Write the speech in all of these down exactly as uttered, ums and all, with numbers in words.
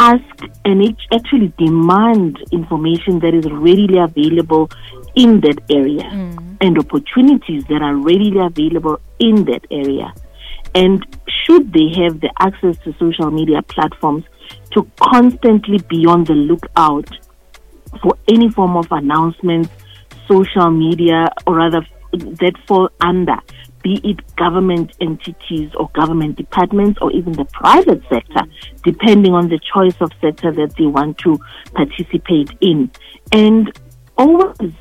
ask and actually demand information that is readily available in that area mm. and opportunities that are readily available in that area. And should they have the access to social media platforms, to constantly be on the lookout for any form of announcements, social media, or rather that fall under, be it government entities or government departments or even the private sector, depending on the choice of sector that they want to participate in. And always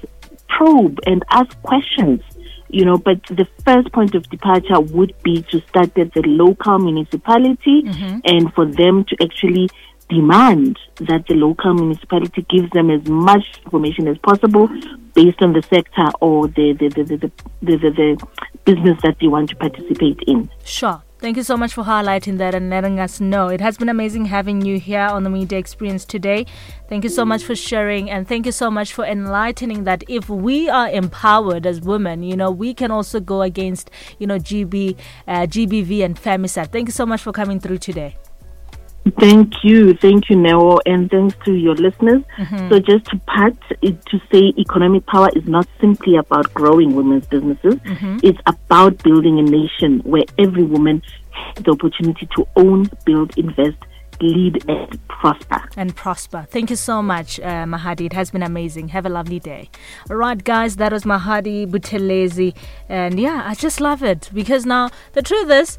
probe and ask questions, you know, but the first point of departure would be to start at the local municipality mm-hmm. and for them to actually demand that the local municipality gives them as much information as possible based on the sector or the the, the, the, the, the, the, the business that they want to participate in. Sure. Thank you so much for highlighting that and letting us know. It has been amazing having you here on the Media Experience today. Thank you so much for sharing, and thank you so much for enlightening that if we are empowered as women, you know, we can also go against, you know, G B, uh, G B V and femicide. Thank you so much for coming through today. Thank you. Thank you, Neo, and thanks to your listeners. Mm-hmm. So just to part, to say economic power is not simply about growing women's businesses. Mm-hmm. It's about building a nation where every woman has the opportunity to own, build, invest, lead, and prosper. And prosper. Thank you so much, uh, Mahadi. It has been amazing. Have a lovely day. All right, guys, that was Mahadi Buthelezi. And yeah, I just love it because now the truth is,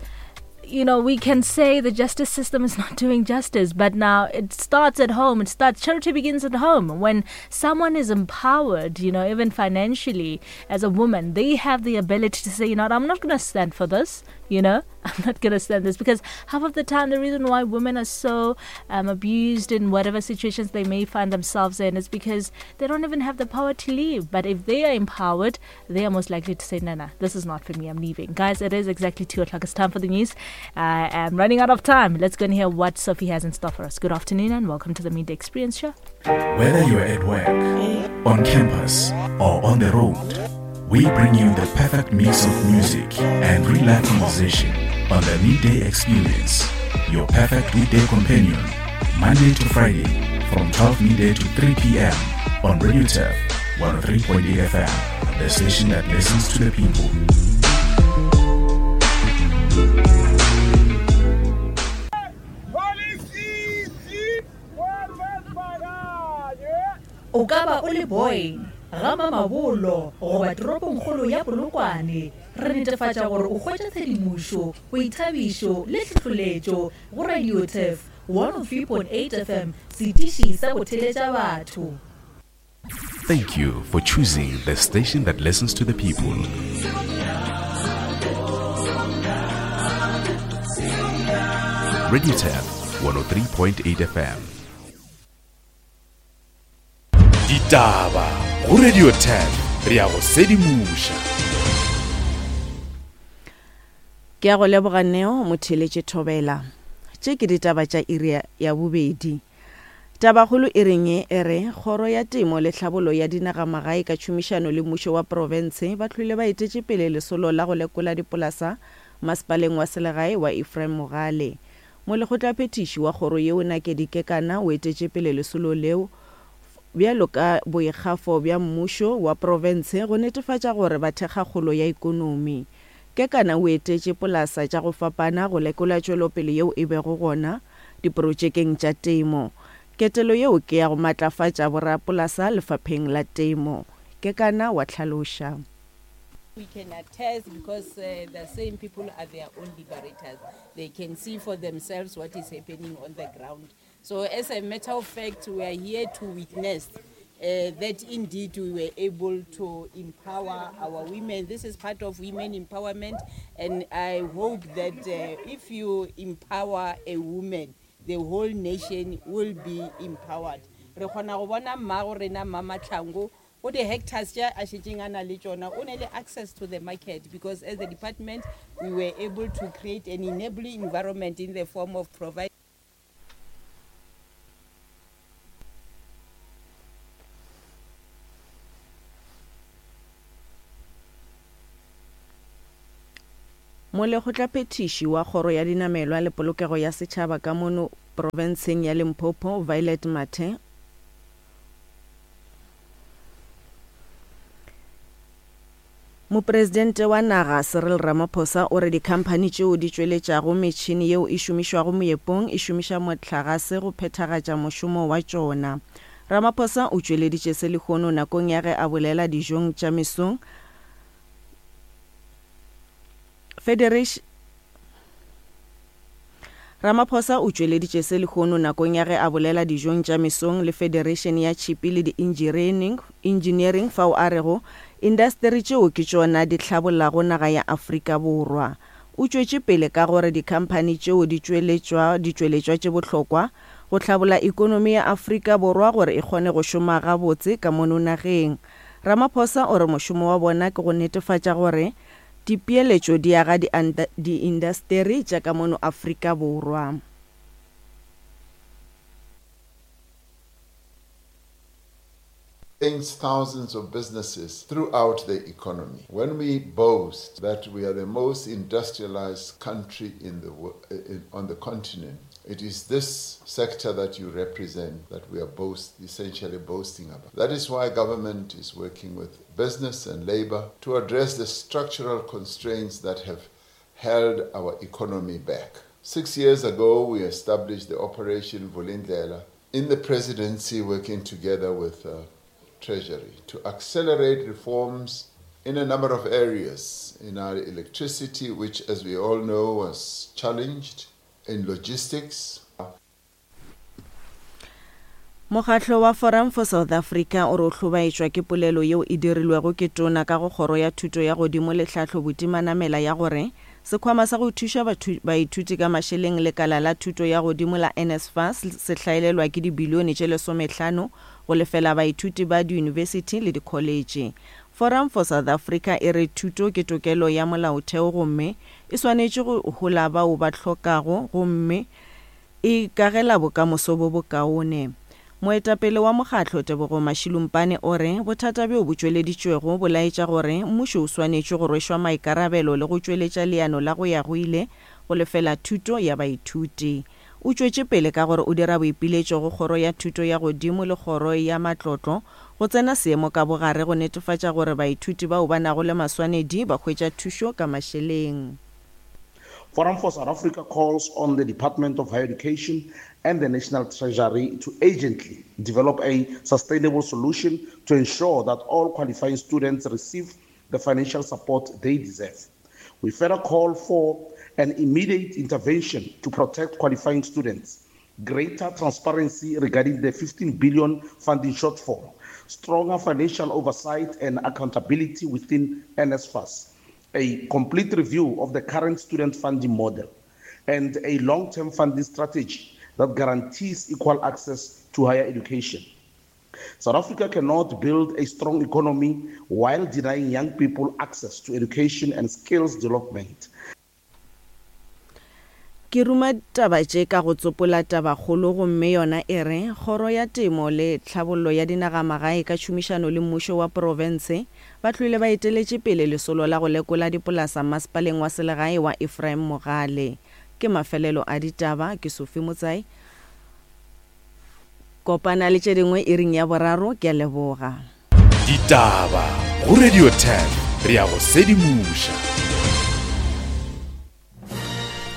you know, we can say the justice system is not doing justice, but now it starts at home. It starts, charity begins at home. When someone is empowered, you know, even financially as a woman, they have the ability to say, you know, I'm not going to stand for this, you know, I'm not going to stand this. Because half of the time, the reason why women are so um, abused in whatever situations they may find themselves in is because they don't even have the power to leave. But if they are empowered, they are most likely to say, no, no, this is not for me, I'm leaving. Guys, it is exactly two o'clock. It's time for the news. I am running out of time. Let's go and hear what Sophie has in store for us. Good afternoon and welcome to the Media Experience Show. Whether you're at work, on campus, or on the road, we bring you the perfect mix of music and real-life conversation on the Midday Experience, your perfect weekday companion, Monday to Friday from twelve midday to three p.m. on Radio Turf one oh three point eight F M, the station that listens to the people. O ka ba o le boy ga Mamabolo goba toropongkgolo ya Polokwane, re netefatša gore o hwetša tshedimošo, boithabišo le tlhohleletšo go Radio Turf one oh three point eight F M, setiši sa go theletša batho. Thank you for choosing the station that listens to the people. Radio Turf one oh three point eight F M. Ditaba go Radio Turf, re ya go sedimoša. Ke a go leboga Neo motheletše Thobela. Tše ke ditaba tša iri ya bobedi. Tabakgolo e reng e re kgoro ya temo le tlhabolo ya dinagamagae ka tšhomišano le mmušo wa profense ba hlwile ba etetše pele lesolo la go lekola dipolasa masepaleng wa selegae wa Ephraim Mogale. Molekgotlaphethiši wa kgoro yeo Nakedi Kekana o etetše pele lesolo leo bjalo ka boikgafo bja mmušo wa profense go netefatša gore ba thekga kgolo ya ikonomi. Kekana o etetše polasa tša go fapana go lekola tšwelopele yeo e bego gona diprotšekeng tša temo. Ketelo yeo ke ya go matlafatša borapolasa lefapheng la temo. Kekana wa tlhaloša. We can attest because uh, the same people are their own liberators. They can see for themselves what is happening on the ground. So as a matter of fact, we are here to witness uh, that indeed we were able to empower our women. This is part of women empowerment, and I hope that uh, if you empower a woman, the whole nation will be empowered. Re kgona go bona mmago rena Mama Tlhango o di hectares tša a šetšeng a na le tšona, o ne le access to the market because as the department we were able to create an enabling environment in the form of providing Molekgotlaphethiši wa kgoro ya dinamelwa le polokego ya setšhaba ka mono Profenseng ya Limpopo Violet Mathe Mopresidente wa naga Cyril Ramaphosa o re dikhamphani tšeo di tšweletšago metšhini yeo e šomišwago moepong e šomiša mohlagase go phethagatša mošomo wa tšona. Ramaphosa o tšweleditše se lehono nakong ya ge a bolela dijong tša mesong Federation Ramaphosa o tšweleditše se lehono nakong ya ge a bolela dijong tša mesong le Federation ya Tšhipi le di-Engineering Engineering fao a rego indasteri tšeo ke tšona di hlabollago naga ya Afrika Borwa. O tšwetše pele ka gore dikhamphani tšeo di tšweletšwa ditšweletšwa tše bohlokwa go hlabolla ekonomi ya Afrika Borwa gore e kgone go šoma gabotse ka mono nageng. Ramaphosa o re mošomo wa bona ke go netefatša gore dipeeletšo di aga diindasteri tša ka mono Afrika Borwa. Thousands of businesses throughout the economy. When we boast that we are the most industrialized country in the in, on the continent, it is this sector that you represent that we are boast, essentially boasting about. That is why government is working with business and labor to address the structural constraints that have held our economy back. Six years ago, we established the Operation Vulindlela in the presidency, working together with uh, Treasury to accelerate reforms in a number of areas, in our electricity, which, as we all know, was challenged, in logistics. Mokgatlo wa Forum for South Africa o re o hlobaetšwa ke polelo yeo e dirilwego ke tona ka go kgoro ya thuto ya godimo le tlhahlo botimanamela ya gore sekhwama sa go thuša baithuti ka mašeleng lekala la thuto ya godimo la N S F A S se hlaelelwa ke dibilione tše lesomehlano go lefela baithuti ba diyunibesithi le dikholetše. Forum for South Africa e re thuto ke tokelo ya molaotheo gomme e swanetše go hola bao ba hlokago gomme e kagela bokamoso bo bokaone. Moetapele wa mokgatlo Tebogo Mashilumpane o re bothata bjo bo tšweleditšwego bo laetša gore mmušo o swanetše go rwešwa maikarabelo le go tšweletša leano la go ya go ile go lefela thuto ya baithuti. O tšwetše pele ka gore o dira boipiletšo go kgoro ya thuto ya godimo le kgoro ya matlotlo go tsena seemo ka bogare go netefatša gore baithuti bao ba nago le maswanedi ba hwetša thušo ka mašeleng. Forum for South Africa calls on the Department of Higher Education and the National Treasury to urgently develop a sustainable solution to ensure that all qualifying students receive the financial support they deserve. We further call for an immediate intervention to protect qualifying students, greater transparency regarding the fifteen billion funding shortfall, stronger financial oversight and accountability within N S F A S, a complete review of the current student funding model, and a long-term funding strategy that guarantees equal access to higher education. South Africa cannot build a strong economy while denying young people access to education and skills development. Ke ruma taba tše ka go tsopola tabakgolo gomme yona e re kgoro ya temo le tlhabollo ya dinagamagae ka tšhomišano le mmušo wa profense ba tlwile ba eteletše pele lesolo la go lekola dipolasa masepaleng wa selegae wa Ephraim Mogale. Ke mafelelo a ditaba, ke Sophie Motsai. Kopana le tše dingwe iring ya boraro, ke a leboga. Ditaba go Radio ten, re ya go sedimoša.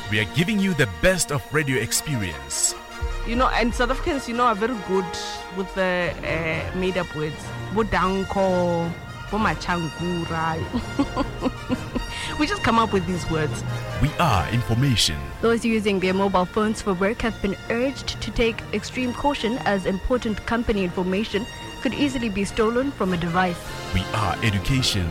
We are giving you the best of radio experience. You know, and South Africans, you know, are very good with the uh, made-up words. Bodanko, bomachangura. We just come up with these words. We are information. Those using their mobile phones for work have been urged to take extreme caution as important company information could easily be stolen from a device. We are education.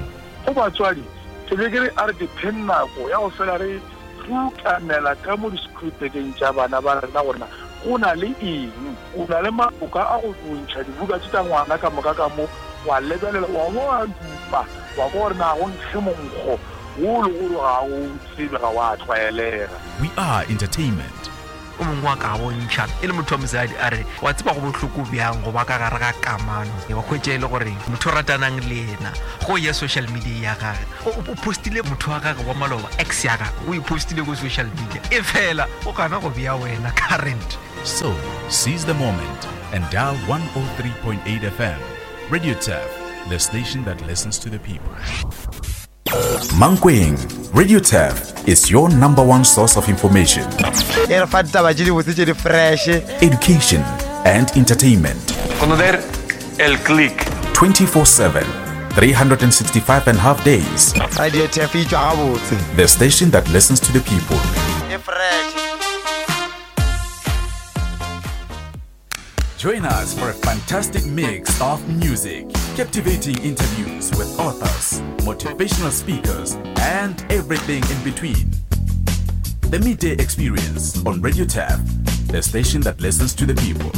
Rukanela ka mo di-scriptekeng tša bana ba rena gorena go na le eng, o na le maboka a go bontšha dibuka tše tša ngwana ka moka ka mo wa lebelela wa bo wa dupa wa kwa gore na go nkge monkgo wo le gore ga o tsebe ga wa tlwaelega. We are entertainment. O mongwe wa ka bontšha e le motho wa mosadi a re wa tseba go bohloko bjang go ba ka gare ga kamano wa hwetša e le gore motho o ratanang le yena go ya social media ya gage o postile motho wa gage wa maloba ex ya gage o e postile ko social media e fela o gana go bea wena current. So, seize the moment and dial one oh three point eight F M. Radio Turf, the station that listens to the people. Mankweng, Radio Turf is your number one source of information, E re fa ditaba tše dibotse tše di fresh, education and entertainment. Conocer el click. twenty-four seven, three hundred and sixty-five and a half days. Radio Turf e tšwa gabotse. The station that listens to the people. E fresh. Join us for a fantastic mix of music, captivating interviews with authors, motivational speakers, and everything in between. The Midday Experience on Radio Turf, the station that listens to the people.